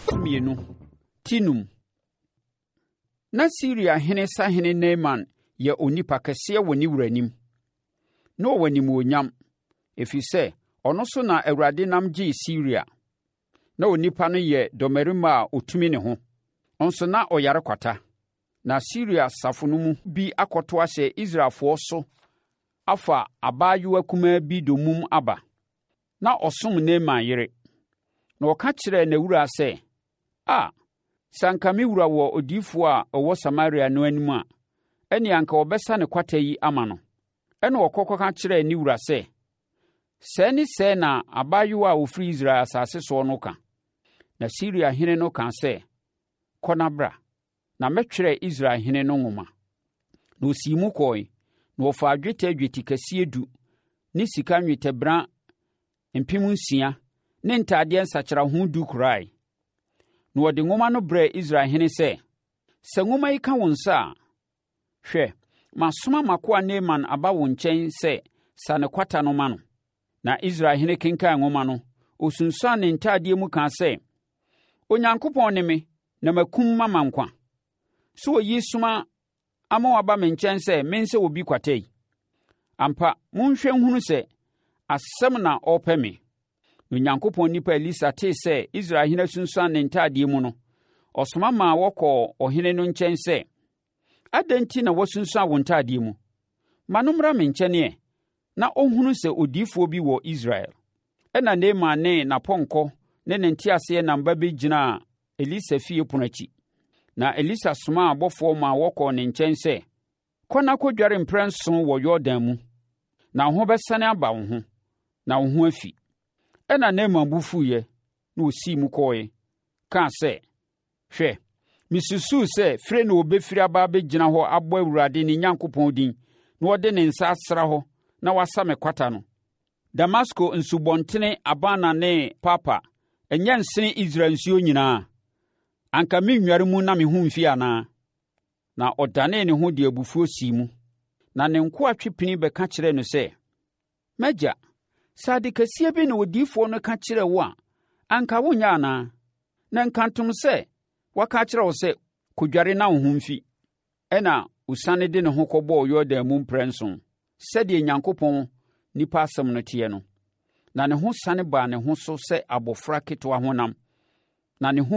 so mmienu, ti num. Na Siriahene sahene Naaman yɛ onipa kɛseɛ wɔ ne wura anim. Na ɔwɔ animuonyam, ɛfiri sɛ, ɔno so na Awurade nam gyee Siria. Na onipa no yɛ dɔmmarima a ɔtumi ne ho, nso na ɔyare kwata. Na Siria asafo no mu bi akɔto ahyɛ Israelfoɔ so afa abaayewa kumaa bi dommum aba. Na ɔsom Naaman yere. Na ɔka kyerɛɛ n'awuraa sɛ, “A, sɛ anka me wura wɔ odiyifoɔ a ɔwɔ Samaria no anim a, ɛnneɛ anka ɔbɛsa ne kwata yi ama no.” Ɛnna ɔkɔ kɔka kyerɛɛ ne wura sɛ, “Sɛɛ ne sɛɛ na abaayewa a ɔfiri Israel asase soɔ no ka.” Na Siria hene no kaa sɛ, “Kɔ na bra, na mɛtwerɛ Israel hene no nwoma.” Na ɔsii mu kɔe, na ɔfaa dwetɛ dwetikɛseɛ du ne sika nnwetɛbena 6,000 ne ntadeɛ nsakyeraho du kurae. Na wɔde nwoma no brɛɛ Israel hene sɛ, “Sɛ nwoma yi ka wo nsa a, hwɛ, masoma m'akoa Naaman aba wo nkyɛn sɛ sa ne kwata no ma no.” Na Israel hene kenkan nwoma no, ɔsunsuan ne ntadeɛ mu kaa sɛ, “Onyankopɔn ne me na makum mama nkwa. So oyi soma ama wɔaba me nkyɛn sɛ mensɛ obi kwata yi? Ampa, monhwɛ nhunu sɛ asɛm na ɔrepɛ me. Na Onyankopɔn nipa Elisa tee sɛ Israel hene asunsuan ne ntadeɛ mu no, ɔsoma maa wɔkɔɔ ɔhene no nkyɛn sɛ, Adɛn nti na woasunsuan wo ntadeɛ mu? Ma no mmra me nkyɛn ɛ, na ɔnhunu sɛ odiyifoɔ bi wɔ Israel. Ɛnna Naaman ne n'apɔnkɔ ne ne nteaseɛnam ba bɛgyinaa Elisa fie pono akyi. Na Elisa somaa abɔfoɔ maa wɔkɔɔ ne nkyɛn sɛ, Kɔ na kɔdware mprɛnson wɔ Yordan mu, na wo ho bɛsane aba wo ho, na wo ho afi. Ɛnna Naaman bo fuiɛ, na ɔsii mu kɔeɛ, kaa sɛ, Hwɛ, misusuu sɛ fire na obefiri aba abegyina hɔ abɔ Awurade ne Nyankopɔn din na ɔde ne nsa asra hɔ na wasa me kwata no. Damasko nsubɔntene Abana ne Parpar, ɛnyɛ nsene Israel nsuo nyinaa? Anka merennware mu na me ho mfi anaa? Na ɔdanee ne ho de abufuo sii mu. Na ne nkoa twe pini bɛka kyerɛɛ no sɛ, M'agya, sɛ ade kɛseɛ bi na odiyifoɔ no ka kyerɛɛ wo a, anka wonyɛ anaa? Na nkantom sɛ waka akyerɛ wo sɛ, 'Kɔdware na wo ho mfi. Ɛnna ɔsiane de ne ho kɔbɔɔ Yordan mu mprɛnson, sɛdeɛ Nyankopɔn nipa asɛm no teɛ no. Na ne ho sane baa ne ho so sɛ abɔfra ketewa honam, na ne ho